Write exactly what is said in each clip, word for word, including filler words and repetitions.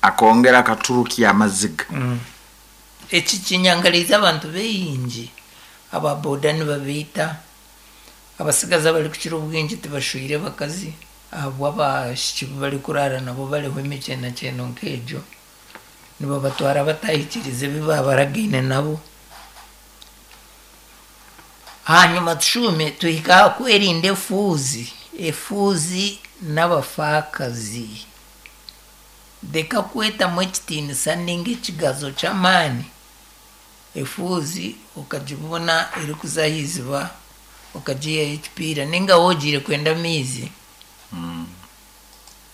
Akongera akaturukya amaziga. Mm. Eki kinyangariza abantu baingi, aba boda nibabiita, abasigazi abarikukira obwingi tibashwire bakazi ahabw'abashiki bu barikurara nabo bariho emikyenakyeno nk'egyo, nibabatwara batahikiriza ebi babaragaine nabo. Hanyuma tushume tuhika aha kwerinda efuuzi, efuuzi n'abafaakazi. Reka kwetamu ekitiinisa ninga ekigazo ky'amaani, efuuzi okagibona erikuza aha iziba okagiihayo ekipiira ninga wogiire kwenda amaizi,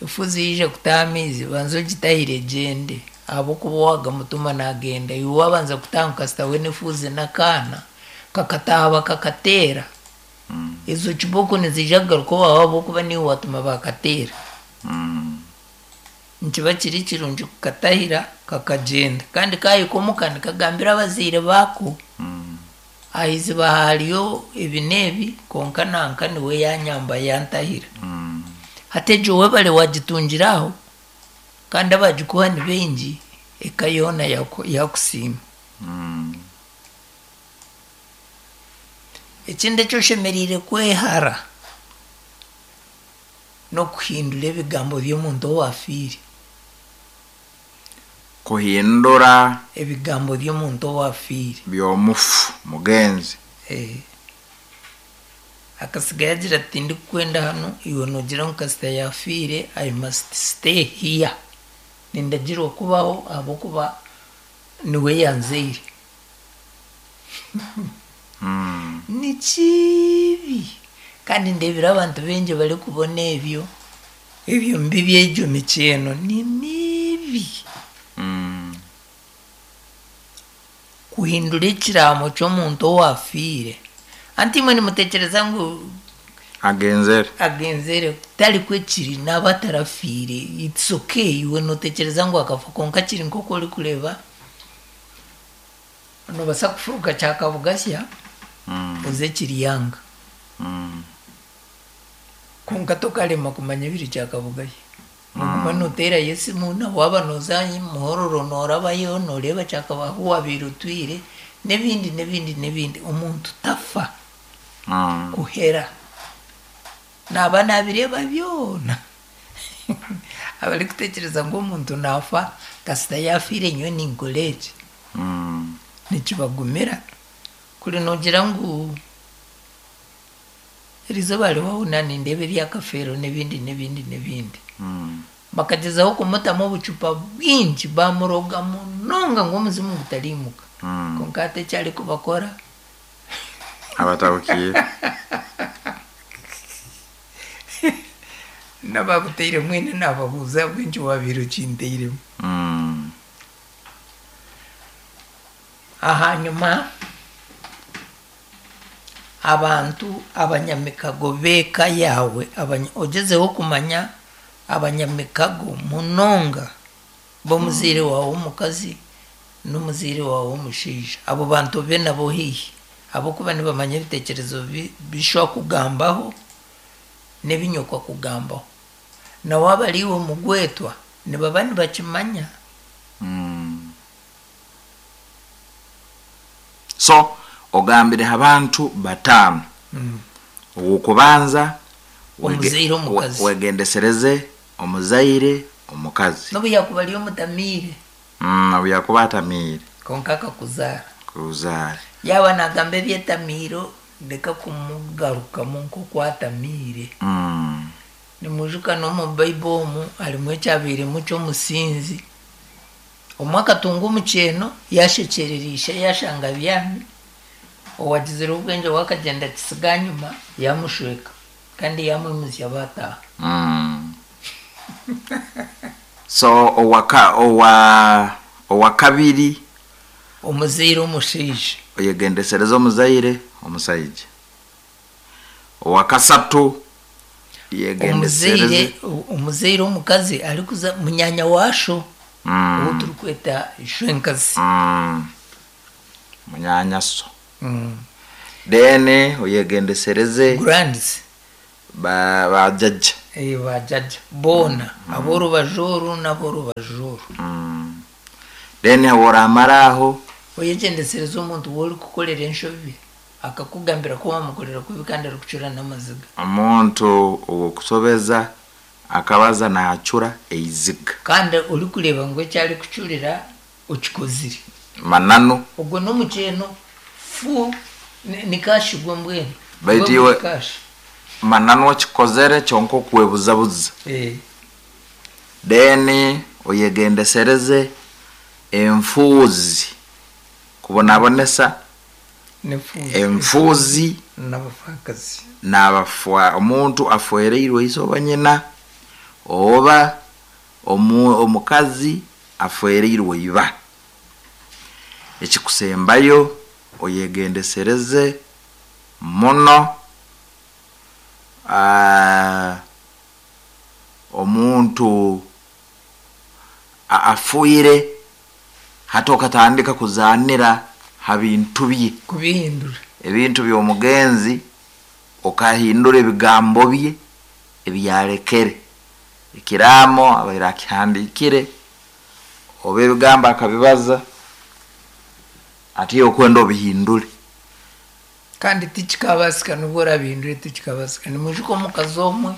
efuuzi yaija kutaha amaizi banza ogitahire egyende ahabw'okuba owagamutuma nagenda, iwe wabanza kutaha ngu kasita we n'efuuzi n'akaana kakataaha bakakateera, ezo kibooko niziija kugaruka owaawe ahabw'okuba niiwe watuma bakateera. Nikiba kiri kirungi kukatahira kakagyenda kandi kahika omuka nikagambira abazaire baako, aha iziba hariyo ebi n'ebi kwonka nanka niwe yanyamba yantahira. Hati egyo webare wagitungira aho kandi abagikuha ni baingi, eka yoona yakusiima. Ekindi eki oshemereire kwehara n'okuhindura ebigambo by'omuntu owaafiire. Kuhindura ebigambo by'omuntu owaafiire. By'omufu mugenzi. Eh. Akasiga yagira ati tindikukwenda hanu, iwe noogira ngu kasita yaafiire I must stay here. Nindagirwa kubaho ahabw'okuba niwe yanzaire. Ni kibi kandi ndeebire abantu baingi barikubona ebyo, ebyo mibi egyo mikyeno ni mibi. Kuhindura ekiraamo ky'omuntu owaafiire. Anti imwe nimutekyereza ngu agenzere, agenzere tarikwo kiri naaba atarafiire, it's okay iwe nootekyereza ngu akafa kwonka kiri nk'oku orikureeba noobaasa kufuruka Kyakabugasya oze Kiryanga, kwonka tokarema kumanya ebiri Kyakabugasya. Noguma nooteerayo esimu na waaba nooza Muhororo noorabayo nooreeba Kyakabu ahu waabaire otwire n'ebindi n'ebindi n'ebindi. Omuntu tafa kuhera, naaba naabireeba byona. Abarikutekyereza ngu omuntu naafa kasita yaafiire nyowe ninkora eki, nikibagumira. Kuri noogira ngu erizooba hariho ahu naanindeeba ebyakafeero n'ebindi n'ebindi n'ebindi. Bakagyezaho kumutamu obucupa bwingi bamuroga munonga ngu omuzimu gutariimuka. Kwonka hati eki arikubakora abatabukiire. N'ababutaire mwene naababuuza ahabw'enki waabaire okintairemu. Ahanyuma abantu abanyamikago b'eka yaawe, ogyezeho kumanya abanyamikago munonga b'omuzaire waawe w'omukazi n'omuzaire waawe w'omushaija. Abo bantu obe nabo haihi ahabw'okuba nibamanya ebiteekyerezo bishwa kugambaho n'ebi nyoko akugambaho. Na waaba ari iwe mugwetwa nibaba nibakimanya. So ogambire abantu bataano. Ow'okubanza omuzaire omukazi, wegendesereze omuzaire omukazi. N'obu yakuba ari omutamiire. N'obu yakuba atamiire. Kwonka akakuzaara. Kuzaara. Yaaba naagamba ebyetamiiro reka kumugarukamu nk'oku atamiire. Nimwijuka n'omu Bible omu harimu ekyabairemu ky'omusinzi. Omwe akatunga omukyeno yashekyerera ishe yashanga abyami, owagizire obwengye we akagyenda akisiga ahanyima yamushweka kandi yamwimutsya baataaha. So owaka owa owakabiri omuzaire omushaija, oyegendesereze omuzaire omusaija. Owakasatu omuzaire omuzaire omukazi arikuza munyanya washo, ou turikweta ishwenkazi. Munyanya so. Then oyegendesereze grands ba bajjajja. Eh, bajaja boona ab'orubaju oru n'ab'orubaju oru. Mm. Then oramara aho oyegyendesereza omuntu woorikukorera enshobi akakugambira ko wamukorera kubi kandi arikucura n'amaziga. Omuntu owokusobeza akabaza naacura eiziga. Kandi orikureeba ngu eki arikucurira okikozire. Mananu. Ogwo n'omukyeno fu ni- ni kashi gwe mbwenu. Baitu Gwe iwe- guri kashi. Mananu okikozere kyonka okwebuzabuza. Eh, Then oyegendesereze enfuuzi kubonabonesa n'efuuzi enfuuzi n'abafaakazi. N'abafwa omuntu afwereirwe ise oba nyina oba omu, omukazi afwereirwe iba. Ekikusembayo oyegendesereze muno aa, omuntu a- afuire hati okatandika kuzaanira ha bintu bye. Kubihindura. Ebintu by'omugenzi okahindura ebigambo bye ebyarekere ekiraamo abaire akihandiikire oba ebigambo akabibaza ati okwenda obihindure. Kandi tikikabasika nubwo orabihindure tikikabasika. Nimwijuka omukazi omwe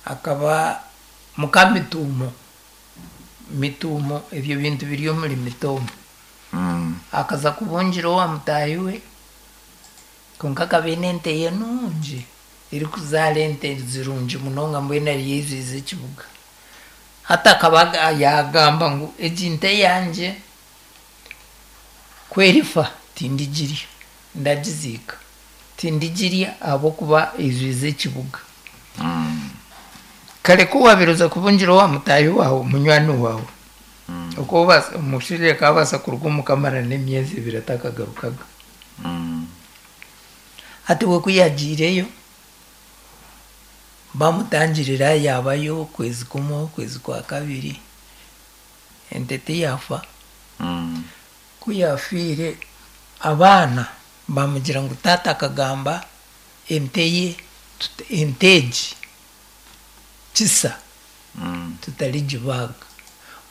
akaba muka mituumo mituumo ebyo bintu biri omuri mitomo. Mm. Akaza kubungira owa mutaahi we kwonka akaba aine ente ye nungi erikuzaara ente zirungi munonga mbwenu ariyo eizwize ekibuga. Hati akaba aga- yagamba ngu egi nte yangye ku erifa tindigirya ndagiziika tindigirya ahabw'okuba eizwize ekibuga. Mm. Kare ku wabiroza kubungira owa mutaahi wawe munywani wawe okwo obaasa- omushaija akabaasa kuruga omu kamara n'emyezi ebiri atakagarukaga. Mm. Hati we ku yagiireyo bamutangirira yabayo okwezi kumwe okwezi kwa kabiri ente tiyafa. Mm. Ku yafiire abaana bamugira ngu taata akagamba ente ye tut- ente egi kisa Mm. tutarigibaaga.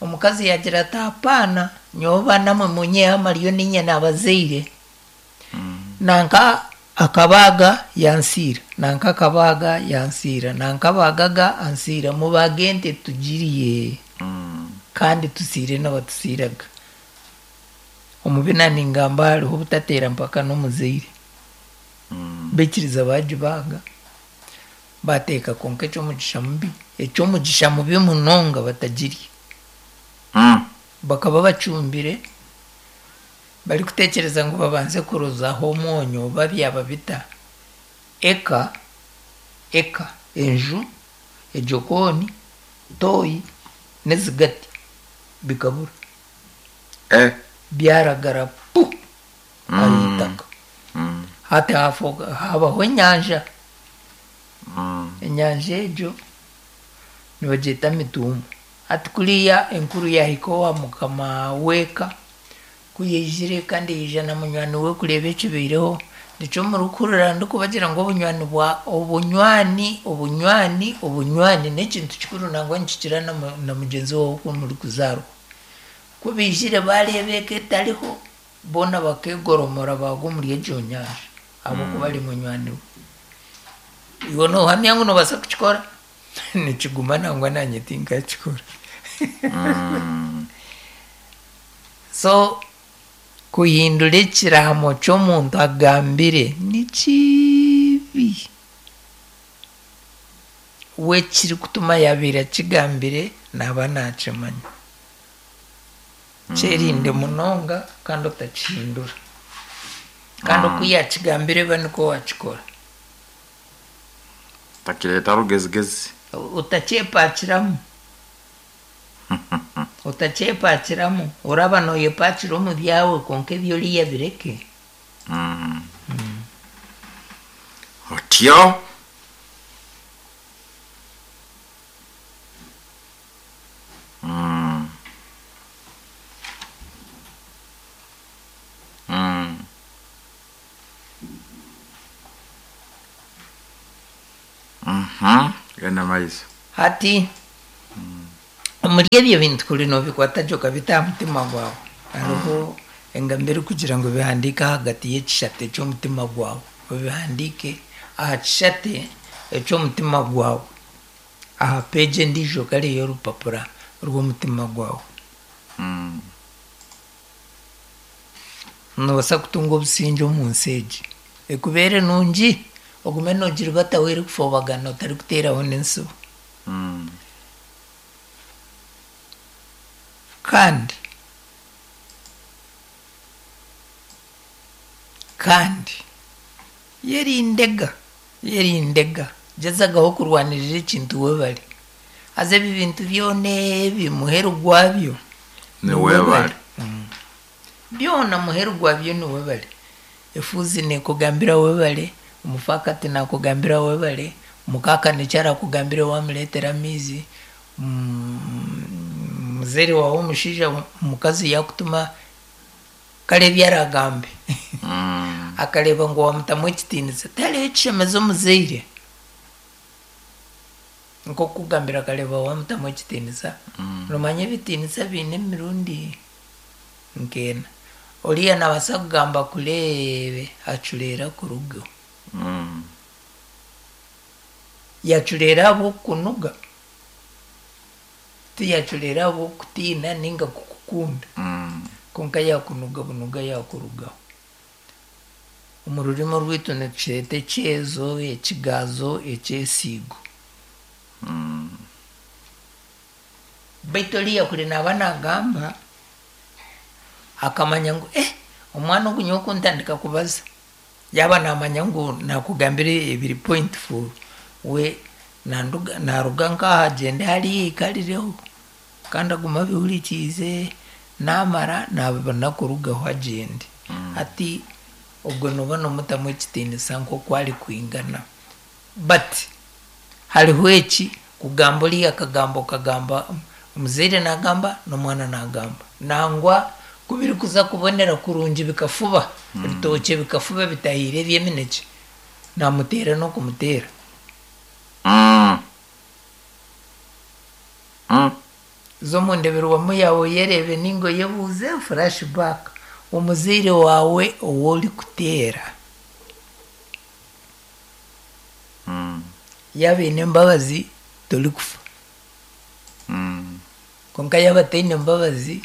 Omukazi yagira ati apaana nyowe baana mwe munyeho amaryo ninye nabazaire. Mm. Nanka akabaaga yansiira nanka akabaaga yansiira nanka abaagaga ansiira mubaage ente tugiriye. Mm. Kandi tusiire n'abatusiiraga. Omu bina ningamba hariho obutateera mpaka n'omuzaire. Mm. Baikiriza bagibaaga bateeka kwonka eky'omugisha mubi eky'omugisha mubi munonga batagirya. Mm. Bakaba bacumbire barikutekyereza ngu babanze kurozaho omwonyo oba byaba bita eka eka enju ejokooni toyi n'ezigati bikabura. Eh. Byaragara pu Mm. ah'itaka. Mm. Hati hafoka habaho enyanja. Mm. Enyanja egyo nibagyeta mituumo. Hati kuriya enkuru yahika owa mukama w'eka ku yaizire kandi yaija na munywani we kureeba ekibaireho nikyo murikuhurira ndikubagira ngu obunywani bwa obunywani obunywani obunywani n'ekintu kikuru nangwa nikikira na mu- na mugyenzi waawe oku murikuzaarwa. Ku baizire bareeba eka etariho boona bakegoromora baagwa omuri egyo nyanja ahabw'okuba ari munywani we. Iwe noohamya ngu noobaasa kukikora nikiguma nangwa nanye tinkakikora. Mm. So kuhindura ekiraamo ky'omuntu agambire ni kibi. We ekirikutuma yabiire akigambire naaba nakimanya. Kyerinde munonga kandi otakihindura. Kandi oku yakigambire ba nikwo wakikora. Takireeta rugezigezi. Otakyepakiramu. Otakyepakiramu oraba nooyepakira omu byawe kwonka ebyoriya bireke. Mm. Otyo. Mm. Mm. Mhm. Genda maiso. Hati omuri ebyo bintu kuri nobikwata gye okabita aha mutima gwawe, hariho engambo erikugira ngu bihandiike ahagati y'ekishate ky'omutima gwawe, obihandiike aha kishate eky'omutima gwawe, aha peegi endiijo kare y'orupapura rw'omutima gwawe. Mm. Noobaasa kutunga obusingye omu nsi egi, ekubeere nungi, ogume noogiribataho erikufobagana otarikuteeraho n'ensibo. Mm. Kandi kandi yerindega yerindega gyezagaho kurwanirira ekintu webare, haza ebi bintu byona ebi muheru gwabyo Ni webare. Mm. Byona muheru gwabyo ni webare. Efuuzi neekugambira webare, omufaakati naakugambira webare, mukaaka nikyo arakugambira wamureetera amaizi, mm, muzeere waawe omushaija omukazi yaakutuma kare ebi aragambe. Mm. Akareeba ngu wamutamu ekitiinisa, tihariho ekishemeza omuzaire nk'okukugambira akareeba wamutamu ekitiinisa. Mm. Noomanya ebitiinisa biine emirundi nk'ena. Oriya naabaasa kugamba kureebe acureera kurugaho. Mm. Yacureera ahabw'okukunuga, tiyacureera ahabw'okutiina ninga kukukunda. Mm. Konka yakunuga bunuga yakurugaho. Omu rurimi rwaitu nitukyeta ekyezo, ekigaazo, ekyesiigo. Mm. Baitu oriya kuri naaba naagamba akamanya ngu eh omwana ogu nyowe kuntandika kubaza, yaaba naamanya ngu naakugambira ebiri point full, we nanduga naaruga nk'aha agyende hariya aikarireho kandi agume abihurikiize, naamara naabona kurugaho agyende. Hati ogwo nooba noomutamu ekitiinisa nk'oku arikwingana. But hariho eki kugamba oriya akagamba okagamba omuzaire naagamba n'omwana naagamba. Nangwa ku birikuza kubonera kurungi bikafuba, ebitookye bikafuba bitahiire eby'eminekye, naamuteera n'okumuteera. Mm. Mm. Za omu ndeberwamu yaawe oyereebe ninga oyebuuze flashback, omuzaire waawe ou orikuteera Mm. yaaba aine embabazi torikufa. Mm. Konka yaaba ataine mbabazi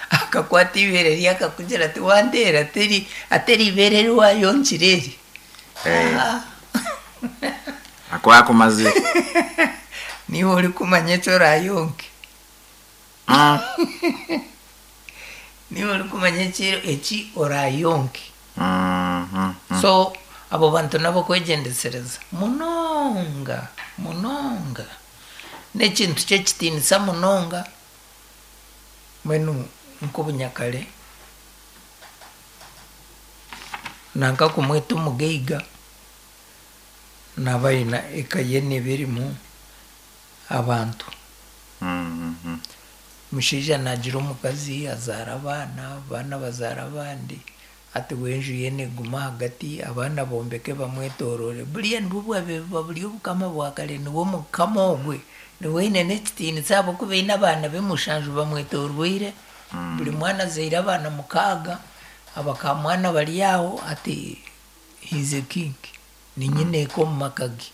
akakwata eibeere rye akakugira ati wanteera teri atari eibeere eri waayonkire eri. Eh. Ah, Akuba akumazire. niiwe orikumanya eki oraayonke. Mm. Niiwe orikumanya eki eki oraayonke. Mm. Mm. So abo bantu nabo kwegyendesereza munonga munonga. N'ekintu ky'ekitiinisa munonga mbwenu nk'obunyakare nanka kumweta omugaiga naaba aine eka ye neeba erimu abantu. Mm. Mm. Omushaija naagira omukazi azaara abaana, abaana bazaara abandi, hati we enju ye neeguma ahagati abaana bombeke bamwetorore. Buriya nibwo bwabaire buba buri obukama bwa kare niwe mukama ogwe, niwe aine n'ekitiinisa ahabw'okuba aine abaana be mushanju bamwetorweire, buri mwana azaire abaana mukaaga, abakamwana bari aho ati he is a king, ni nyineeka omu maka ge.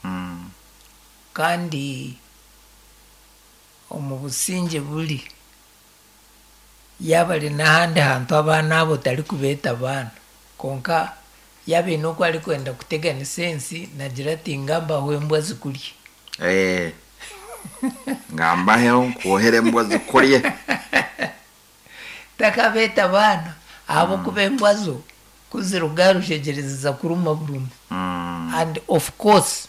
Mm. Kandi omu busingye buri yaaba ari n'ahandi hantu abaana abo tarikubeeta abaana, konka yaaba aine oku arikwenda kuteganisa ensi naagira ati ngambaho embwa zikurye. Eh. Ngambaheho nkuohere embwa zikurye. Takabeeta abaana ahabw'okuba embwa zo kuziruga aha rushegyere ziza kuruma buruma. Mm. And of course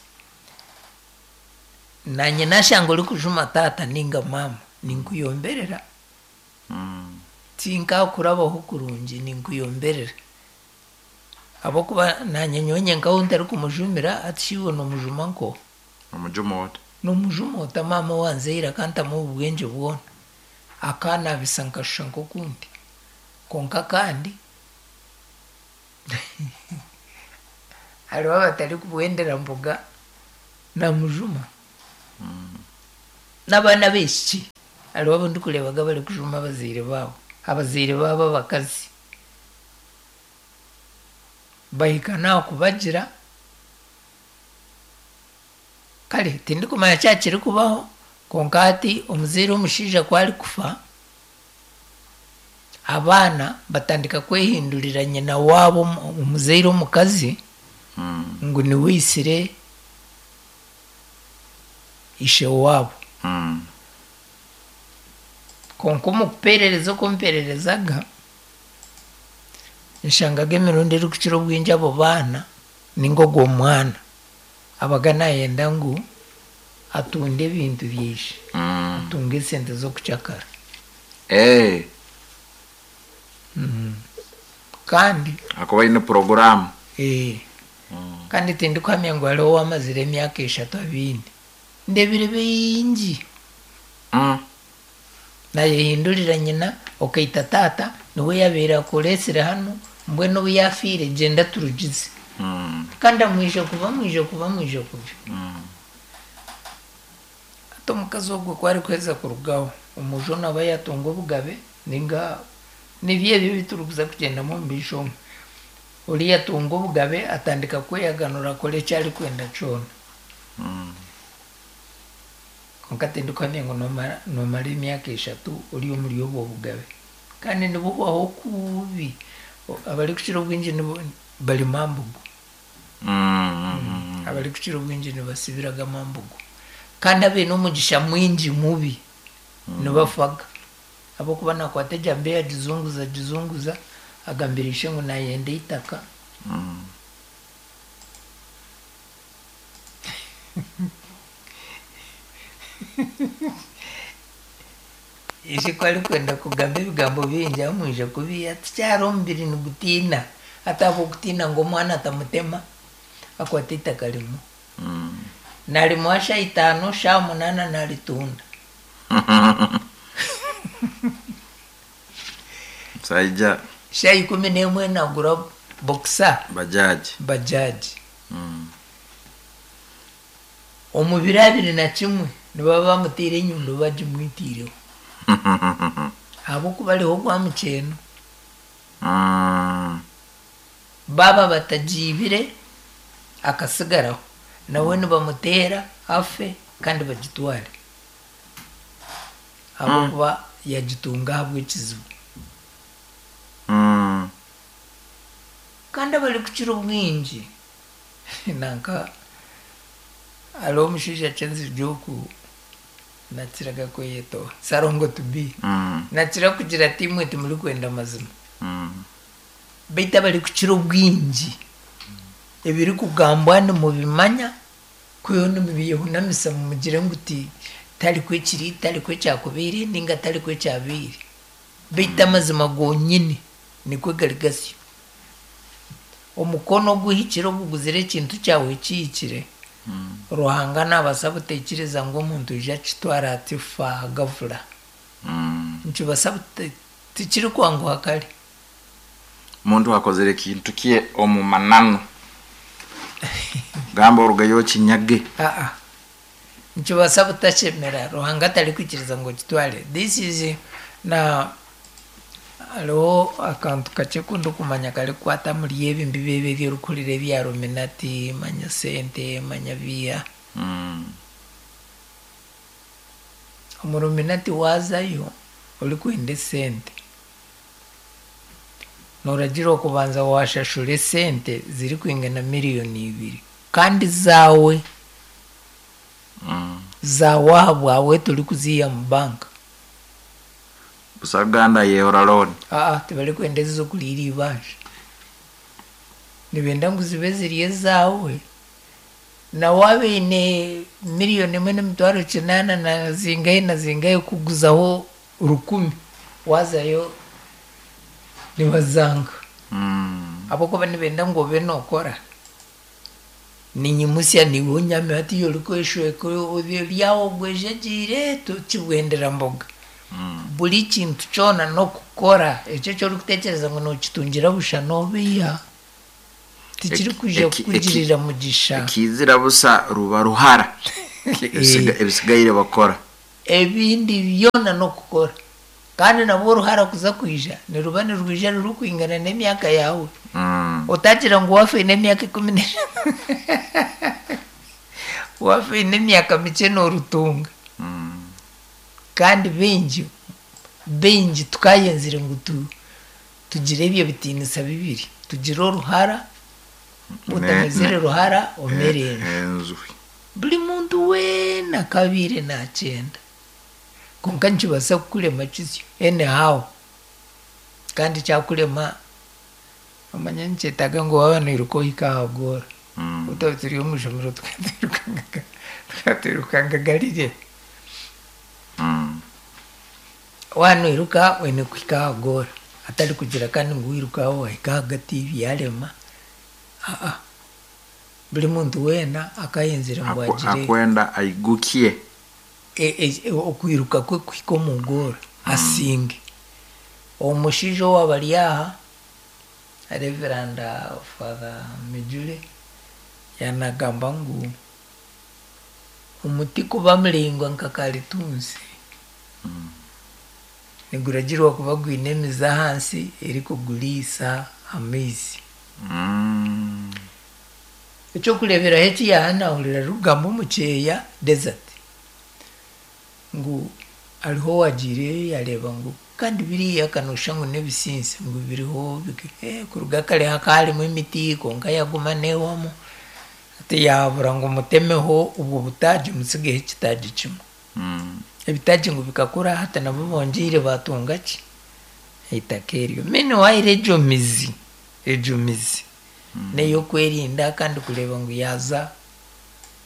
nanye nashanga orikujuma taata ninga maama ninkuyomberera. Mm. Tinkakurabaho kurungi ninkuyomberera. Ahabw'okuba nanye nyowe nyenkaho ntarikumujumira hati shi iwe noomujuma nkoha? Omujuma ota? Noomujuma ota maama owanzaire akantamu obwengye bwona, akanabisa nkashusha nk'okundi. Konka kandi hariho abatarikubwendera mbuga Namujuma. N'abaana b'ekiki hariho abu ndikureebaga barikujuma abazaire baabo, abazaire baabo abakazi. Bahika n'aha kubagira, kare tindikumanya kyaba kirikubaho, kwonka hati omuzaire omushaija ku arikufa, abaana batandika kwehindurira nyina waabo omuzaire omukazi Mm. ngu niwe aitsire ishe waabo. Mm. Kwonka omu kupeerereza oku mpeererezaga, nshangaga emirundi erikukira obwingi abo baana ninga ogwo mwana abaga nayenda ngu atunde ebintu byaishe, Mm. atunge esente z'okukyakara. Eh, Kandi akuba aine poroguramu. eh, Mm. kandi tindikuhamya ngu hariho owamazire emyaka eshatu abiine. Ndebire bingi. Mm. Nayehindurira nyina okaita taata niwe yabaire akureesire hanu, mbwenu obu yafiire gyenda turugize. Mm. Kandi amwija kuba amwija kuba amwija kubi. Mm. Hati omukazi ogwo ku arikuheza kurugaho, omujo naaba yatunga obugabe ninga nibyo ebyo ebi turikuza kugyendamu omu maisho omu. Oriya atunga obugabe atandika kweyaganura akora eki arikwenda kyona. Mm. Kwonka tindikuhamya ngu noomara noomara emyaka eshatu ori omuri obwo bugabe. Kandi nibuhwaho kubi. Abarikukira obwingi nibo bari mambugu. Mm. Mm. Abarikukira obwingi nibasibiraga mambugu. Kandi abaine omugisha mwingi mubi nibafaga. Ahabw'okuba nakwata ejambiya agizunguza agizunguza agambira ishe ngu nayenda eitaka. Mm. Ishe ku arikwenda kugamba ebigambo bingi amwija kubi ati kyari omubiri nigutiina. Hati ahabw'okutiina ngu omwana atamutema, akwata eitaka rimuha. Mm. Narimuha shaaha itaano, shaaha munaana naritunda. Musaija Shaaha ikumi n'emwe nagura boxer bajaji. bajaji. Mm. Omu biro abiri na kimwe nibaba bamutiire enyundo bagimwitiireho. Ahabw'okuba ariho ogwa mukyeno. Mm. Baaba batagiibire akasigaraho, nawe nibamuteera afe kandi bagitware. Ahabw'okuba yagitunga ahabw'ekizibu. Mm. Kandi abarikukira obwingi nanka hariho omushaija Kyenzi oku nakiraga kweyetoora Sarongo to be. Mm. Nakira kugira ati imwe timurikwenda mazima. Mm. Beitu abarikukira obwingi ebirikugambwa nimubimanya kwihaho nimubyehunamisa mumugire ngu ti tarikwo ekiri, tarikwo ekyakubaire ninga tarikwo ekyabaire. Beitu amazima gonyini nikwo gari gasyo. Omukono oguhikire oguguzire ekintu kyawe kihikire, Mm. Ruhanga nabaasa butekyereza ngu omuntu aije akitwara ati fa gavura. Mm. Nikibaasa tikirikwanguha kare. Omuntu akozere ekintu kye omu mananu. Gamba orugayo okinyage. Aa. Nikibaasa butashemera Ruhanga atarikwikiriza ngu okitware. This is na hariho akantu kakye aku ndikumanya karikukwata omuri ebi mbibi ebi ebi orikuhurira ebya Illuminati, manya sente, manya biiha. Mm. Omu Illuminati waazayo orikwenda esente, nooragira okubanza waashashura esente zirikwingana miriyoni ibiri kandi zaawe. Mm. Zaawe aha bwawe torikuziiha mu banka. Busaganda yehora loan. Aa tibarikwenda ez'okuriira eibanja. Nibenda ngu zibe ziri ezaawe. Na waaba oine miriyoni emwe n'emitwaro kinaana na zingahi na zingahi kuguzaho rukumi, waazayo nibazanga. Mm. Ahabw'okuba nibenda ngu obe nookora. Ninyimusya niiwe onyame hatiiya orikweshweka ori aho ogwejegyeire tokibwendera mboga. Mm. Buri kintu kyona n'okukora ekyo eki orikutekyereza ngu nookitungira busha noobeiha. Tikirikuija Eki- kukugirira mugisha. Ekizira busa ruba ruhara. Ebisiga- ebisigaire bakora Ebindi byona n'okukora. Kandi nabwo oruhara kuza kwija niruba nirwija rurikwingana n'emyaka yawe. Mm. Otagira ngu wafiine emyaka ikumi n'eshatu, wafiine emyaka mikye n'orutunga. Mm. Kandi baingi baingi tukayenzire ngu tu, tugire ebyo bitiinisa bibiri, tugire oruhara, otamezire Ne- ruhara omere enju. Enzu. Buri muntu weena akabiire nakyenda, konka nikibaasa kukurema kisyo anyhow. Kandi kyakurema, omanya nikyetaaga ngu waaba noiruka ohike aha goora. Mm. Otaba turi omu ishomero tukatwirukangaga tukatwirukangaga rire. Mm. Waaba noiruka oine kuhika aha goora, atari kugira kandi ngu wirukaho wahika ahagati byarema. Aa, buri muntu weena akayenzire ngu Aku- agire akwenda aigukie. e- e- okwiruka kwe kuhika omu goora asinge. Omushaija owaaba ari aha, Reverend Father Mijule, yanagamba ngu omuti kuba muraingwa nka karitunsi niguragirwa kuba gwine emizi ahansi erikuguriisa amaizi. Mm. Ekyokureeberaho eki yahanahurira arikugamba omu kyeya desert, ngu hariho owagiireyo yareeba ngu kandi biriya kanoshusha ngu n'ebisinsi ngu biriho biki- eh, kuruga kare hakaba harimu emiti konka yaguma neewamu, ati yahabura ngu mutemeho obwo butaagi musigeho ekitaagi kimwe. Mm. Ebitaagi ngu bikakura hati nabo bongyeire batunga ki eitaka eryo. Meanwhile egyo mizi egyo mizi n'ey'okwerinda kandi kureeba ngu yaaza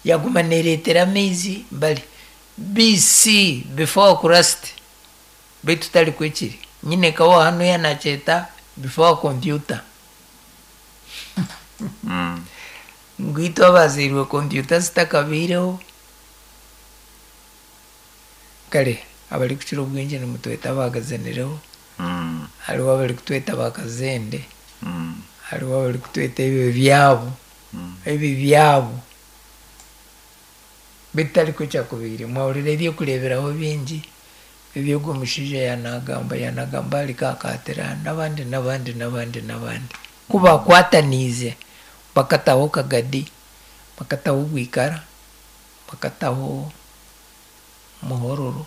yaguma neereetera amaizi bari B C, before Christ, beitu tari kwekiri nyine kawa hanu yanakyeta before computer. Mm. Ngu itwe abazairwe computer zitakabaireho. Kare abarikukira obwingi nimutweta abagazanireho. Mm. Hariho abarikutweta bakazende. Mm. Hariho abarikutweta ebyo byabo. Mm. Ebi byabo bitari kwekyakubaire. Mwahurira ebyokureeberaho bingi eby'ogwo mushaija yanagamba yanagamba ahari Kakatira n'abandi n'abandi n'abandi n'abandi. Ku bakwataniize bakataho Kagadi, bakataho Bwikara, bakataho Muhororo,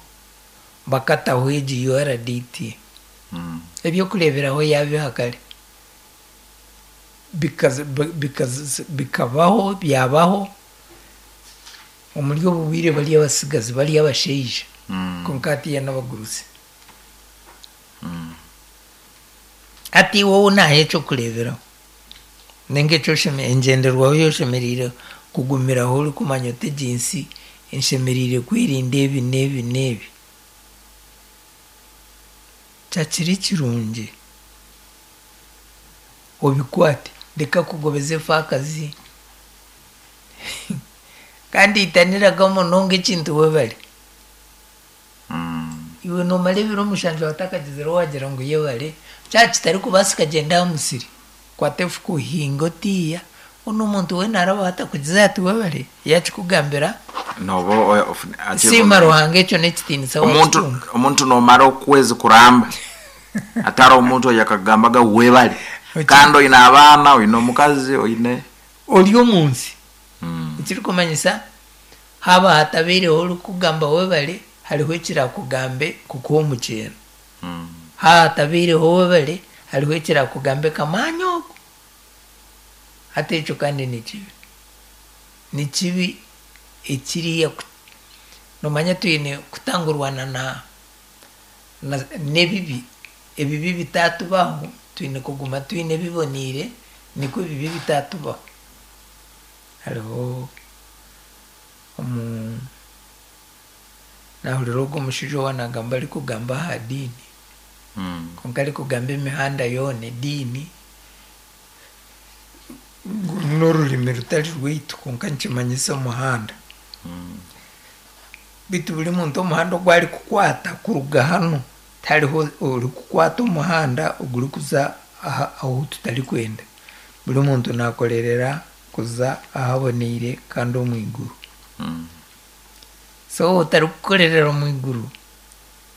bakataho egi U R D T. Mm. Ebyokureeberaho yabiha kare bikaza- bikaza- bikabaho byabaho omuri obu bwire bari abasigazi bari abashaija. Mm. Konka hatiya n'abagurusi. Mm. Hati wowe naha ekyokureeberaho ninga ekyo osheme- engyenderwaho yoshemereire kugumiraho orikumanya oti egi nsi enshemereire kwerinda ebi n'ebi n'ebi, kyakiri kirungi obikwate, reka kugobeza efaakazi kandi itaniraga munonga ekintu webare. Mm. Iwe nomara ebiro mushanju watakagizire wagira ngu yebare, kyaba kitarikubaasika gyenda aha musiri, kwata efuka ohinge otiiya, onu omuntu weena araba atakugize ati webare yakikugambira. Noba o- ofune- ati- Siima Ruhanga, ekyo n'ekitiinisa omuntu wakitunga. Omuntu nomara okwezi kuramba atari omuntu oyo akagambaga webale. Eki- Kandi oine abaana, oine omukazi, oine Ori omu nsi. Mm. Ekirikumanyisa haaba hatabaireho orikugamba webare, hariho ekirakugambe kukuha omukyeno. Mm. Haaba hatabaireho webare, hariho ekirakugambe kamaanya ogu. Hati ekyo kandi ni kibi, ni kibi ekiriya ku- nomanya twine kutangurwana na, na n'ebibi, ebibi bitatubaho. Twine kuguma twine ebiboniire nikwo ebibi bitatubaho. Hariho omu nahurira ogwo omushaija owanagamba arikugamba aha diini. Mm. Konka arikugamba emihanda yoona ediini ngu n'orurimi rutari rwaitu konka nikimanyisa omuhanda. Mm. Beitu buri muntu omuhanda ogu arikukwata kuruga hanu, tihariho orikukwata omuhanda ogurikuza aha ahu tutarikwenda. Buri muntu nakorerera kuza ahaboneire kandi omu iguru. Mm. So otarikukorerera omu iguru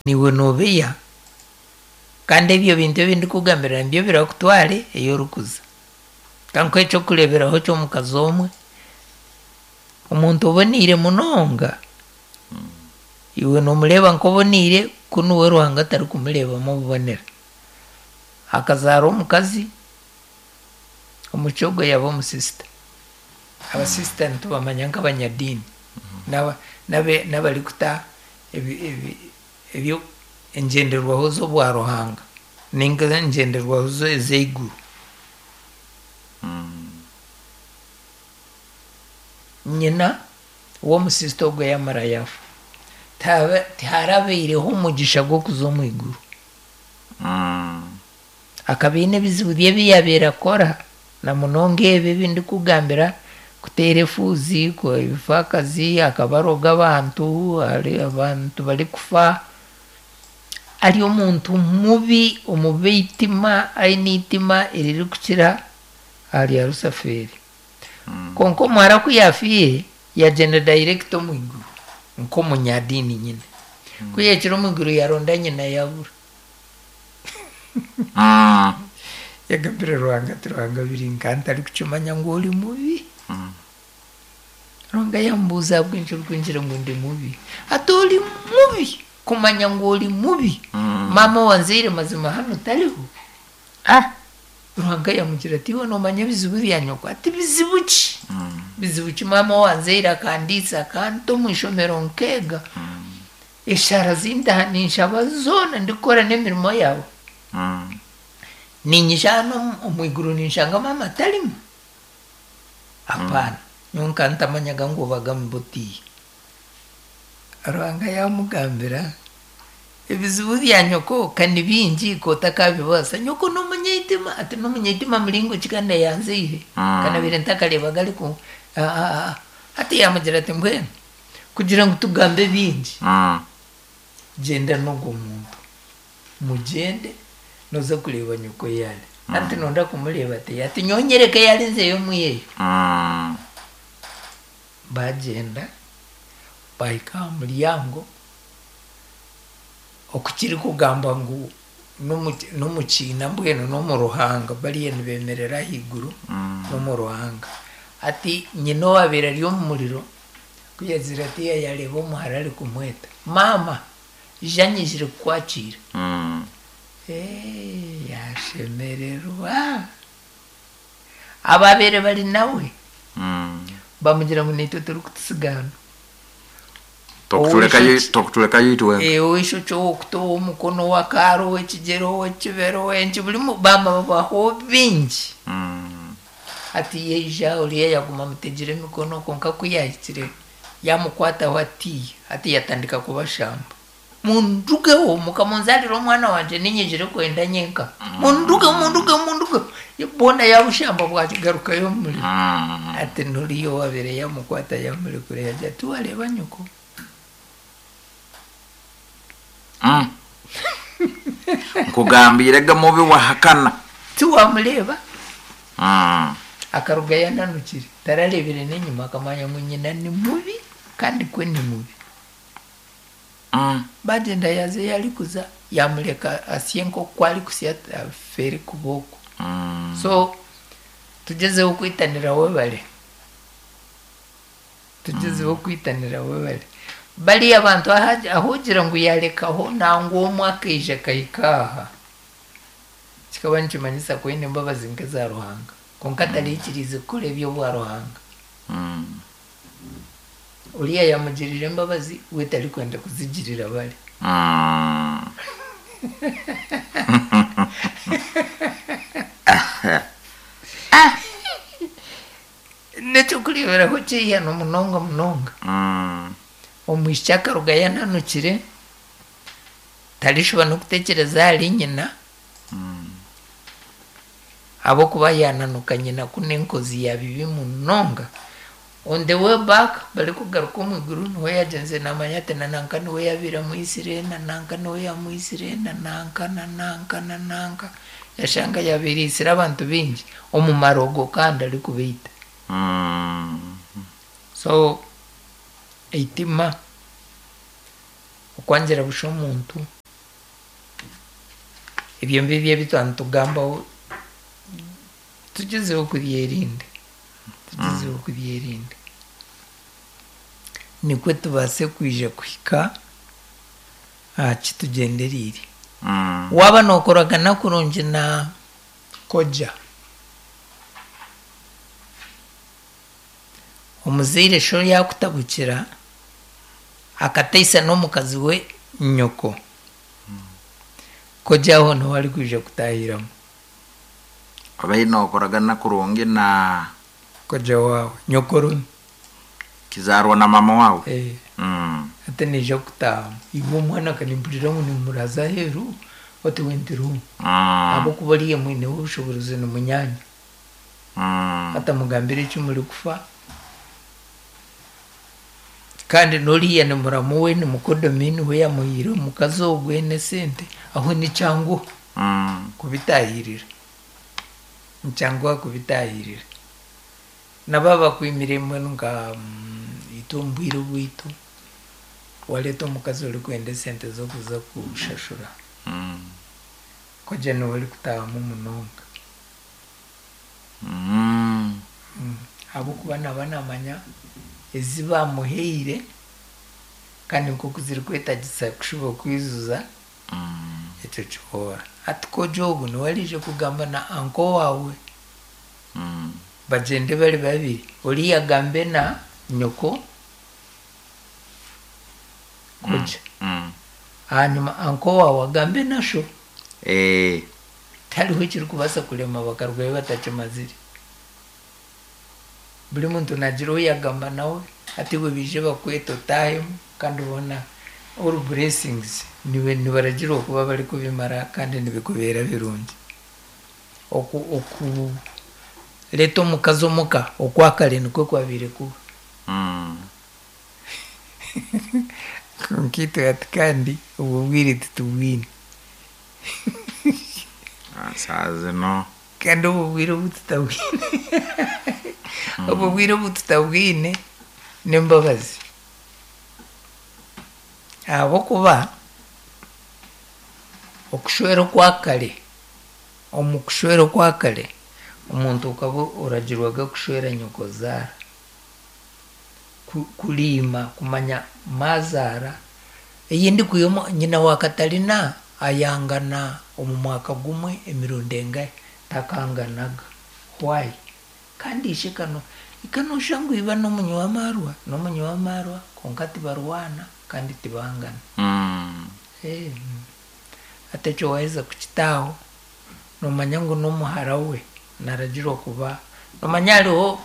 niwe nobeya, kandi ebyo bintu ebi ndikugambira nibyo birakutware ei orikuza. Kankuhe ekyokureeberaho ky'omukazi omwe, omuntu oboneire munonga, iwe nomureeba nk'oboneire kunu we Ruhanga atarikumureebamu obubonera. Akazaara omukazi, omuki ogwo yaba omusisita. Abasisita nitubamanya nk'abanyadiini, n'aba- n'abe- n'abarikuta ebi- ebi- ebyo engyenderwaho z'obwa Ruhanga ninga engyenderwaho ez'eiguru. Mm. Nyina w'omusisita ogwo yamara yafa, Tihaba- tiharabaireho omugisha gw'okuza omu iguru. Mm. Akaba aine ebizibu bye ebi yabaire akora, na munonga ebi ebi ndikugambira, kuteera efuuzi, ku- ebifaakazi, akaba aroga abantu, ari abantu barikufa. Ari omuntu mubi, omubi eitima, aine eitima eririkukira aha rya Rusafeeri. Mm. Kwonka omuhara ku yaafiire, yagyenda direct omu iguru nk'omunyadiini nyine. Ku yahikire omu iguru yaronda nyina yabura. Mm. Yagambira Ruhanga ati, Ruhanga biri nka ntarikukimanya ngu ori mubi. Mm. Ruhanga yamubuuza ahabw'enki orikwingira ngu ndi mubi. Ati ori mubi kumanya ngu ori mubi. Mm. Maama owanzaire mazima hanu tariho. Ah. Ruhanga yamugira ati, iwe noomanya ebizibu bya nyoko? Ati bizibu ki? Mm. Bizibu ki? Maama owanzaire akandiisa, akanta omu ishomero nkeega. Mm. Eshaara zindaha ninshaba zoona ndikukora n'emirimo yaawe. Mm. Niinyija hanu omu- omu iguru ninshanga maama tarimu. Apaana. Nyowe nka ntamanyaga ngu obaga mubutiye. Ruhanga yamugambira, ebizibu bya nyoko ka ni bingi kotakabibaasa. Nyoko n'omunyaitima, ati n'omunyaitima muringo ki kandi ayanzaire? Mm. Kanabaire ntakareebaga ariku ah, ah, ah. Hati yamugira ati mbwenu kugira ngu tugambe bingi, Mm. gyenda n'ogwo muntu, mugyende noza kureeba nyoko yaari. Anti nonda kumureeba ati, ati nyowe nyereke yaari nzeyo omwiyeyo. Mm. Bagyenda bahika aha muryango, okukiri kugamba ngu n'omu- n'omukiina mbwenu n'omu ruhanga, bariya nibemerera ahaiguru Mm. n'omu ruhanga. Ati nyina owabaire ari omu muriro, ku yagira ati yareeba omuhara arikumweta, maama ija nyijire kukwakiira. Mm. Eh, yashemererwa. Ababaire bari nawe Mm. bamugira ngu naitwe turikutusiga hanu. Tokutuleka Owisho- yi- tokutuleka yitwe. Eh, ow'eishokye, ow'okutu, ow'omukono, ow'akaaro, ow'ekigyere, ow'ekibero, ow'enki, buri mu- bama babaho bingi. Mm. Hati yaija oriya yaguma amutegire emikono, kwonka ku yahikire yamukwataho atiya, hati yatandika kubashamba. Mundugeho mukamunzarira omwana wangye ninyijire kwenda nyenka. Mundugeho, mundugeho, mundugeho. Boona yabushamba bwakigarukayo omu muriro. Mm. Ati nuriya owabaire yamukwata yamurekura yagira ati wareeba nyoko. Mm. Nkugambire ga mubi wahakana. Tiwamureeba. Mm. Akaruga yananukire, tarareebire n'enyima, akamanya ngu nyina ni mubi kandi kwe ni mubi. Mm. Bagyenda yaza ei arikuza, yamureka asye nk'oku arikusya afeere kuba okwo. Mm. So tugyezeho kwitanira webare. Tugyezeho kwitanira webare. Bariya abantu aha- ahugira ngu yarekaho nangwa omwe akaija akahika aha. Kikaba nikimanyisa ku aine embabazi nk'eza Ruhanga. Kwonka taraikiriize kukora eby'obwa Ruhanga. Mm. Oriya yamugirira embabazi, we tarikwenda kuzigirira bari. Mm. N'ekyokureeberaho ky'eihano munonga munonga. Mm. Omwishiki akaruga yananukire, tarishuba n'okutekyereza ahari nyina, Mm. ahabw'okuba yananuka nyina ku n'enkozi ya bibi munonga. On the way back barikugaruka omu iguru niwe yagenze namanya ati na nanka niwe yabiire amwisire, na nanka niwe yamwisire, na nanka na nanka na nanka, yashanga yabiire aisire abantu baingi omu marogo kandi arikubaita. Mm. So eitima, okwangira busha omuntu, ebyo ngibyo ebi twaba nitugambaho tugyezeho kubyerinda, tugyezeho kubyerinda nikwo tubaase kwija kuhika aha kitugyendereire. Mm. Waaba nookoragana kurungi na koja, omuzaire sho yaakutabukira akateisa n'omukazi we nyoko, koja aho niho arikwija kutahiramu. Obaire nookoragana kurungi na Koja waawe nyokorumi. Kizaarwa na mama waawe. Eh. Mm. Ate naija kutaahamu. Iwe omwana kanimpurira ngu nimuraza aheeru oti we ntirimu. Mm. Ahabw'okuba oriya mwineho obushoboorozi ni munyaanya. Mm. Atamugambira eki murikufa kandi n'oriya ni muramu we ni mukodomi niwe yamuhaire omukazi ogwe n'esente aho nikyanguha Mm. kubitahirira, nikyanguha kubitahirira. Nabo abakwimire mbwenu nka itwe omu bwire obwitu wareeta omukazi orikwenda esente z'okuza kushashura, Mm. koja niwe orikutahamu munonga. Mm. Ahabw'okuba naaba naamanya ezi bamuhaire kandi nk'oku zirikwetagisa kushuba kwijuza Mm. ekyo kihoora. Hati koja ogu niwe ariija kugamba na anko waawe Mm. bagyende bari babiri, oriya agambe na nyoko koja, Mm. ahanyuma anko waawe agambe na sho. Eh. Tihariho ekirikubaasa kurema bakarugayo batakimazire. Buri muntu naagira ou yaagamba nawe hati iwe baije bakwete otaahemu kandi boona all blessings nibaragira okuba barikubimara kandi nibikubeera birungi. Oku okureeta omukazi omuka okwakare nikwo kwabaire kuba. Mm. Kwonka itwe hati kandi obwo bwire titubwine. Ah, saa zino Kandi obwo bwire obu tutabwine, obwo bwire obu tutabwine n'embabazi. Ahabw'okuba okushwera okwakare, omu kushwera okwakare omuntu okaba oragirwaga kushwera nyokozaara, kuriima kumanya maazaara, eyindi kwiha nyina wa Katarina ayangana omu mwaka gumwe emirundi engahi takanganaga. Why? Kandi ishe kano ikanosha ngu iba n'omunywi w'amaarwa, n'omunywi w'amaarwa kwonka tibarwana kandi tibangana. Mm. Eh, hati ekyo waaheza kukitaaho noomanya ngu n'omuhara we naragirwa kuba noomanya hariho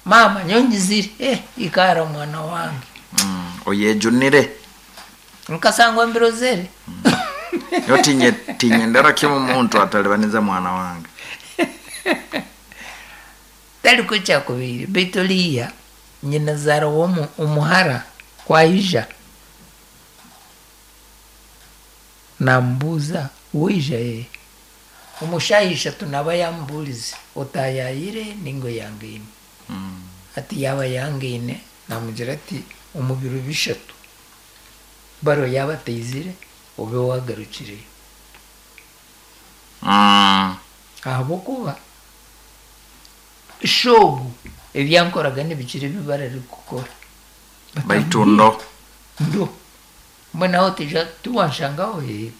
maama nyongizire eh ikaara mwana wange. Mm. Oyejunire. Nkasangwa mbirozere. Yo tinye tinyendera kimwe omuntu atalibaniza mwana wange. Tariko kyakubaire beitu oriya nyinazaara w'omu omuhara kwaija namubuuza waija ee omu shaaha ishatu naaba yaamubuurize otaayaayire ninga oyangaine. Mm. Hati yaaba yangaine namugira ati omu biro bishatu baro yaaba ataizire obe waagarukireyo. Mm. Ahabw'okuba shoobu ebyankoraga nibikira ebi bararikukora. Baitu ndo Ndo mbwenu aho tija tiwanshangaho ee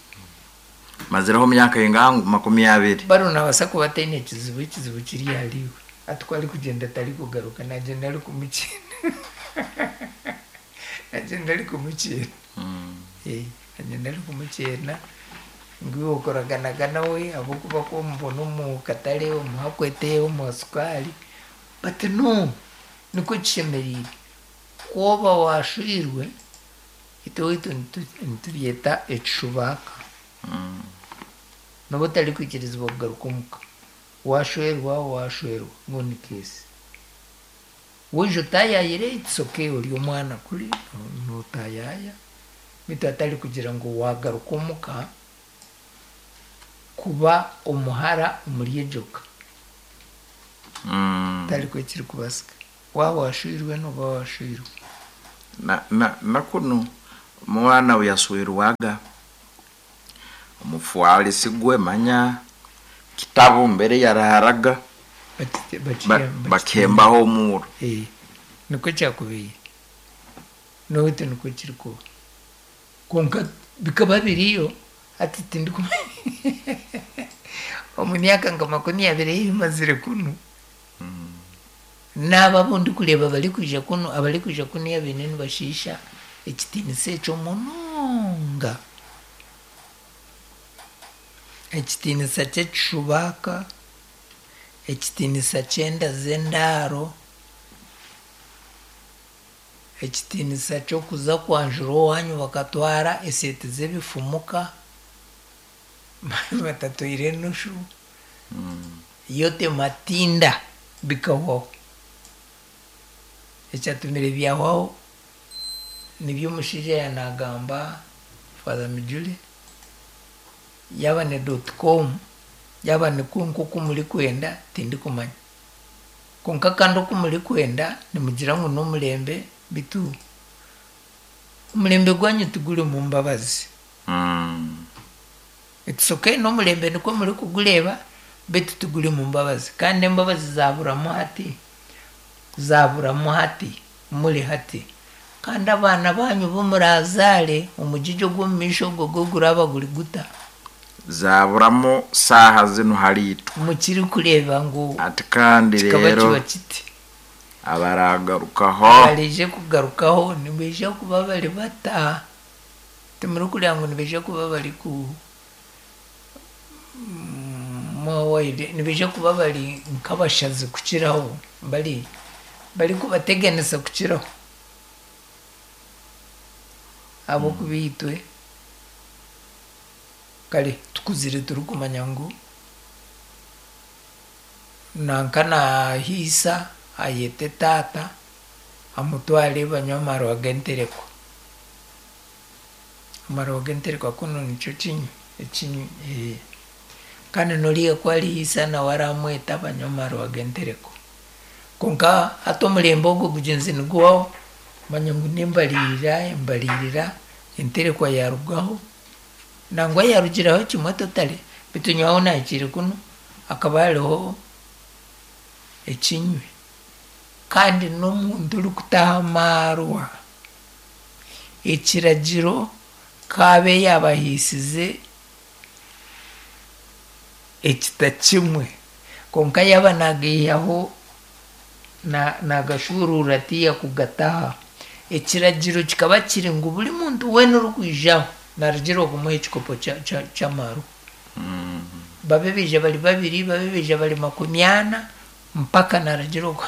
mazireho myaka ingangu makumi abiri. Baro nabaasa kuba ataine ekizibu, ekizibu kiri ahariiwe. Hati ku arikugyenda atarikugaruka nagyenda arikumukyena. Nagyenda arikumukyena. Mm. Eh, nagyenda arikumukyena ngu iwe okoraganaga nawe ahabw'okuba ku omubona omu katare omuha kwete omuha sukaari but no nikwo kishemereire. Ku oba waashwirwe itwe owaitu nitubyeta ekishubaaka. Mm. Nooba otarikwikirizibwa kugaruka omuka. Waashwerwa waashwerwa ngu ni keesi. Waija otaayaayire it's okay ori omwana kuri nootaayaaya beitu atari kugira ngu waagaruka omuka kuba omuhara omuri egyo ka. Mm. Tarikwo ekirikubaasika. Waaba waashwirwe nooba waashwirwe. Na, na, na kunu omwana we yaswirwaga omufwalisi gwe manya kitabu mbere yaraharaga Bakite- ba, bakiyamba- bakembaho omuro. Eh, nikwo kyakubaire n'oweitu nikwo kirikuba kwonka bikaba biriyo hati tindikumanya omu myaka nka makumi abiri ei mazire kunu naabo abu ndikureeba barikwija kunu abarikwija kunu baine nibashiisha ekitiinisa ekyo munonga. Ekitiinisa ky'ekishubaaka, ekitiinisa ky'enda z'endaaro, ekitiinisa ky'okuza kwanjura owaanyu bakatwara eseete z'ebifumuka batatwaire enushu, yote matinda bikahwaho. Ekyatumire byahwaho nibyo omushaija yaanagamba Father Mijule, yaaba ni dot com, yaaba nikwo nk'oku murikwenda tindikumanya. Kwonka kandi oku murikwenda nimugira ngu n'omurembe beitu omurembe gwanyu tigurimu mbabazi. Mm. It's okay n'omurembe nikwo murikugureeba beitu tigurimu mbabazi. Kandi embabazi zaaburamu hati, zaaburamu hati, muri hati. Kandi abaana banyu bu muraazaare omugigi ogw'omu maisho ogwo gwo guraba guri guta? Zaburamu saaha zinu hariitwe. Mukirikureeba ngu Ati kandi kikaba rero kiba kiti. abaragarukaho Abarije kugarukaho nibaija kuba bari bata? Timurikureeba ngu nibaija kuba bari ku mwawaire nibaija kuba bari nk'abashazi kukiraho bari barikubateganisa kukiraho. Ahabw'okuba itwe kare tukuzire turikumanya ngu nanka naahiisa ayete taata amutware banywe amarwa g'entereko. Amarwa g'entereko kunu nikyo kinywi ekinywi eh. Kandi n'oriya ku arihiisa nawe aramweta banywe amarwa g'entereko. Kwonka hati omurembe ogwo gugyenzi niguhwaho manya ngu n'embariirira embariirira enterekwa yaarugaho nangwa yaarugiraho kimwe totally beitu nyowe ahu naahikiire kunu hakaba hariho ekinywi kandi n'omuntu orikutaha amaarwa ekiragiro kaabe yaabahiisize ekita kimwe kwonka yaaba naagaihaho naagashuuruura tiyakugataha. Ekiragiro kikaba kiri ngu buri muntu weena orikwijaho naaragirwa kumuha ekikopo ky'amarwa. Babe baija bari babiri, babe baija bari makumi ana, mpaka naaragirwa ku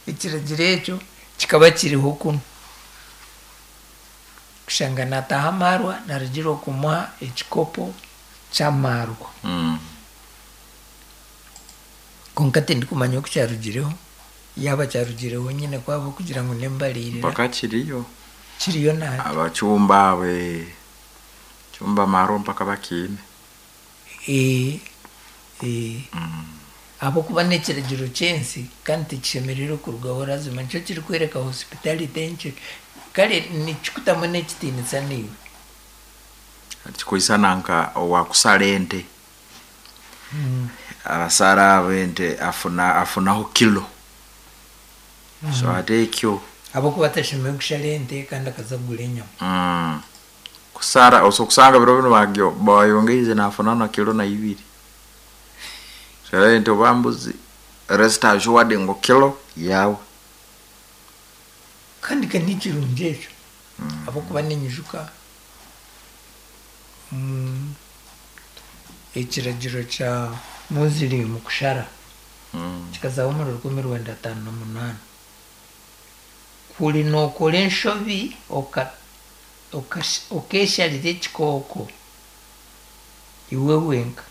ekiragiro ekyo kikaba kiriho kunu. Kushanga naataha amaarwa naaragirwa kumuha ekikopo ky'amarwa. Mm. Kwonka tindikumanya oku kyarugireho, yaaba kyarugireho nyine kwaba kugira ngu n'embariirira Mpaka kiriyo kiriyo nahati. Abacumba abe chumba amarwa mpaka bakiine. Eh, eh. Mm. Ahabw'okuba n'ekiragiro ky'ensi kandi tikishemereire kurugaho lazima nikyo kirikworeka hospitality nkye kare nikikutamu n'ekitiinisa naiwe. Kikwisana nka owakusara ente. Abasara abo ente afuna afunaho kilo. So ate ekyo Ahabw'okuba atashemereire kushara ente kandi akaza kugura enyama. mm. Kusara osokusanga biro bino bagyo bayongeize nafuna na kilo na ibiri. Sara ente oba mbuzi rest assured ngu kilo yawe. Kandi ka nikirungi ekyo ahabw'okuba ninyijuka mm, ekiragiro kya Muslim kushara Mm. kikazaho omuri rukumi rwenda ataano na munaana. Kuri nookora enshobi oka- okash- okeesharira ekikooko iwe wenka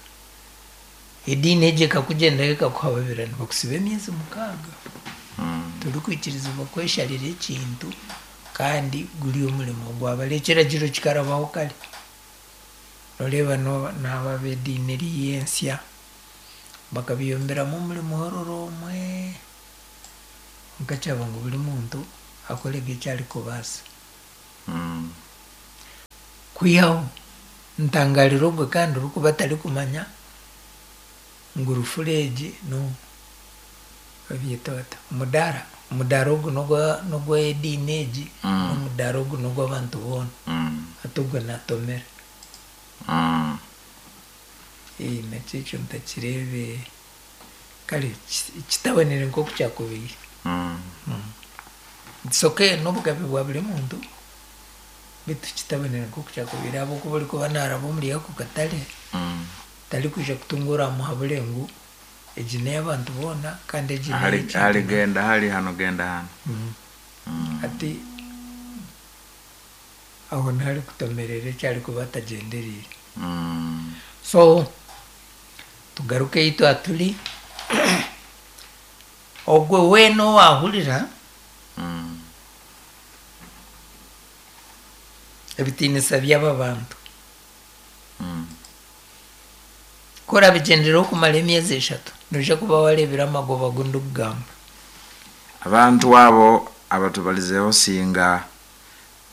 ediini egyo ekakugyendaho ekakuhababira nibakusiba emyezi mukaaga. Mm. Turikwikirizibwa kwesharira ekintu kandi guri omurimo gwabare ekiragiro kikarabaho kare. Noreeba n'aba ab'ediini eriya ensya bakabiyomberamu omuri muhororo omwe nkakyaba ngu buri muntu akorege eki arikubaasa. Mm. Kwihaho ntangarira ogwe kandi orikuba atarikumanya ngu rufura egi no babyeta bata omudaara omudaara ogu n'ogw'ediini egi Mm. n'omudaara ogu n'ogw'abantu boona Mm. hati ogwe naatomera. Mm. Ee nakyo ekyo ntakireebe kare kitabonire nk'oku kyakubaire. Mm. It's okay n'obugabe bwa buri muntu beitu kitabonire nk'oku kyakubaire ahabw'okuba orikuba naaraba omuri ako katare Mm. tarikwija kutunga oramuhabure ngu egi n'ey'abantu boona kandi egi Ahari n'ey'ekintu ahari genda hari hano genda hano. Mm. Mm. Hati aho niho arikutomerera eki arikuba atagyendereire. Mm. So tugaruke ei twaturi ogwe weena owaahurira Mm. ebitiinisa by'aba bantu Mm. ku orabigyendereho okumara emyezi eshatu noija kuba wareebire amagoba agu ndikugamba. Abantu abo abatubalizeho singa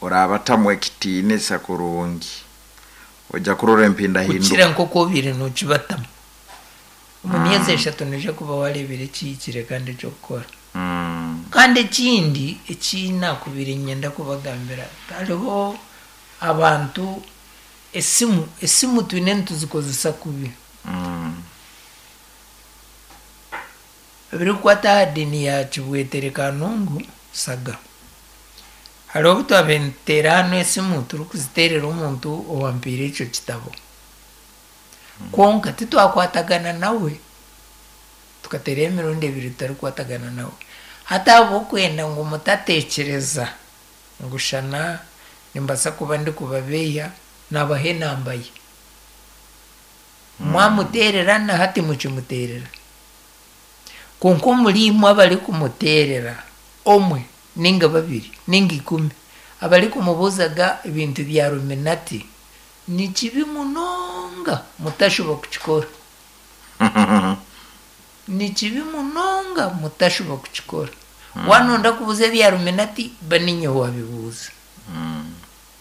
orabatamu ekitiinisa kurungi ojja kurora empindahinduka. Kukira nk'oku obiire nookibatamu. Omu myezi eshatu noija kuba wareebire ekihikire kandi eky'okukora. Mm. Kandi ekindi eki naakubaire niinyenda kubagambira hariho abantu esimu esimu twine nituzikozesa kubi. Mm. Ebirikukwata aha diini ya Kibwetere Kanungu Saga. Hariho obu twabaire nituteera hanu esimu turikuziteerera omuntu owampiire ekyo kitabo. Kwonka titwakwatagana nawe tukateerayo emirundi ebiri tutarikwatagana nawe. Hati ahabw'okwenda ngu mutateekyereza ngu shana nimbaasa kuba ndikubabeeya naabaha enamba ye. Mwamuteerera na hati mukimuteerera. Kwonka omuri imwe abarikumuteerera omwe ninga babiri ninga ikumi abarikumubuuzaga ebintu bya Illuminati ni kibi munonga mutashuba kukikora. Ni kibi munonga mutashuba kukikora. Waanonda kubuuza ebya Illuminati ba niinye waabibuuza. Mm.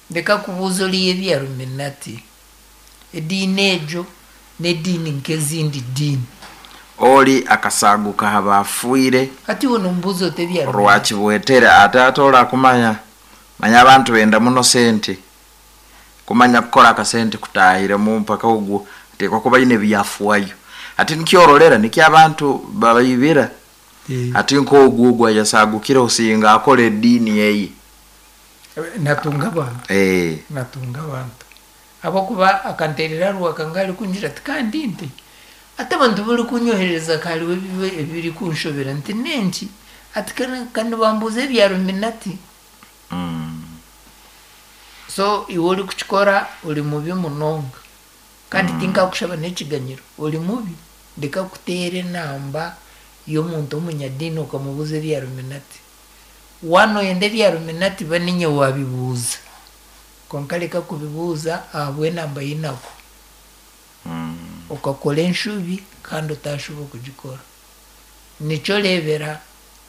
Ndeka kubuuza oriya ebya Illuminati. Ediini egyo n'ediini nk'ezindi diini. Oli akasaguka aha bafiire Hati iwe nomubuuza oti ebya Illuminati. Rwakibwetere ate ate orakumanya manya abantu benda muno sente kumanya kukora akasente kutahiremu mpaka ogwo ateekwa kuba aine ebyafuayo ati nikyororera nikyo abantu babaibira ati nk'ogwo ogwo ayasagukire osinga akora ediini eye. Natunga abantu. Eh. Natunga abantu. Ahabw'okuba akanteerera rwaka ngarikungira ati kandi nti ati abantu barikunyohereza hariho ebirikunshobera nti nenki ati kandi bambuuza ebya Illuminati. Mm. So iwe orikukikora ori mubi munonga kandi tinkakushaba n'ekiganyiro ori mubi ndeka kuteera enamba y'omuntu omunyadiini okamubuuza ebya Illuminati. Waanoyenda ebya Illuminati ba niinye waabibuuza kwonka reka kubibuuza ahabw'enamba yinako. Mm. Okakora enshubi kandi otashuba okugikora. Nikyo oreebera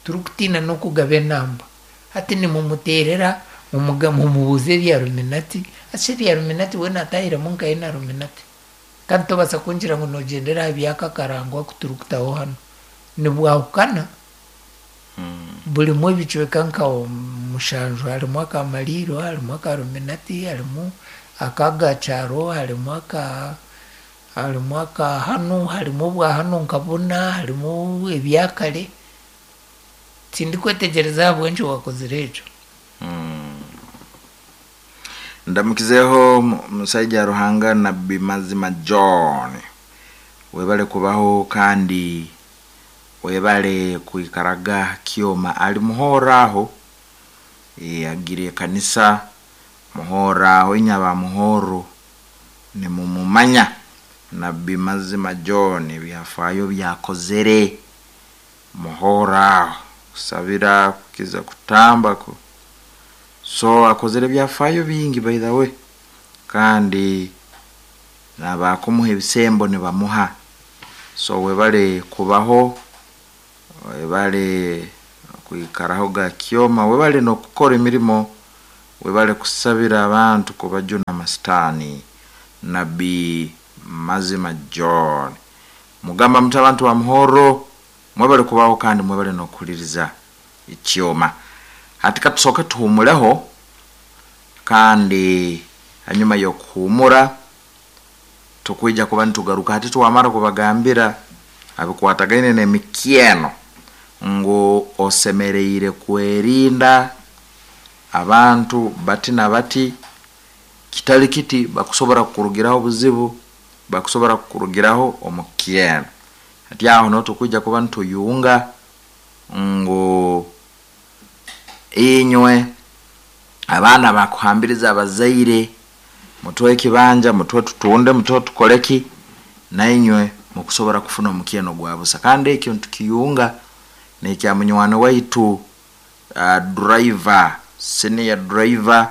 turikutiina n'okugaba enamba. Hati nimumuteerera mumubuuza ebya Illuminati ati ebya Illuminati we naatahiremu nkahe na Illuminati. Kandi tobaasa kungira ngu noogyendera aha by'aka akarango aku turikutaho hanu. Nibwahukana Mm. burimu ebicweka nka mushanju harimu aka mariiro harimu aka Illuminati harimu ak'agakyaro harimu aka harimu aka hanu harimu obwa hanu nka buna harimu ebyakare. Tindikwetegyereza ahabw'enki wakozire ekyo. Mm. Ndamukizeho musaija Ruhanga Nabbi Mazima John webale kubaho kandi webale kwikaraga kyoma ali muhora aho e, agire ekanisa muhora aho inyaba muhoro nimumumanya Nabbi Mazima John ebyafayo byakozere muhora aho Kusabira, kukiza kutamba ku. So akozere ebyafaayo bingi, by the way, kandi nabakumuha ebisembo nibamuha. So webale kubaho, webale kwikaraho ga kyoma, webale nokukora emirimo, webale kusabira abantu kubajuna amasitaani. Nabbi Mazima John, mugamba muti abantu ba Muhoro, mwebale kubaho kandi mwebale nokuhuliriza ekyoma. Hati katusooke tuhumuleho, kandi hanyuma y'okuhumura tukwija kuba nitugaruka. Hati twamara kubagambira abikwatagaine n'emikyeno ngu osemereire kwerinda abantu bati na bati, kitali kiti bakusobora kukurugiraho obuzibu, bakusobora kukurugiraho omukyeno. Hati aho niho tukwija kuba nituyunga ngu inywe abaana bakuhambiriza abazaire, mutwe ekibanja, mutwe tutunde, mutwe tukoleki, nainywe mukusobora kufuna omukyeno gwa busa. Kandi ekyo nitukiyunga nekya munywani waitu, uh, driver, senior driver,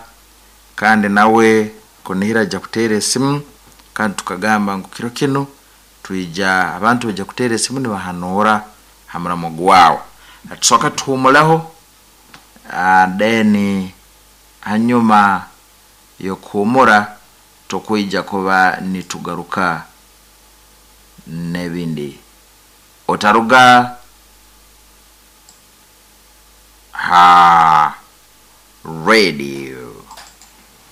kandi nawe kunihira ajja kuteera esimu, kandi tukagamba ngu kiro kinu twija abantu bajja kuteera esimu nibahanuura ha muramo gwawe. Tusooka tuhumuleho, uh, then hanyuma y'okuhumura tukwija kuba nitugaruka n'ebindi. Otaruga ha radio.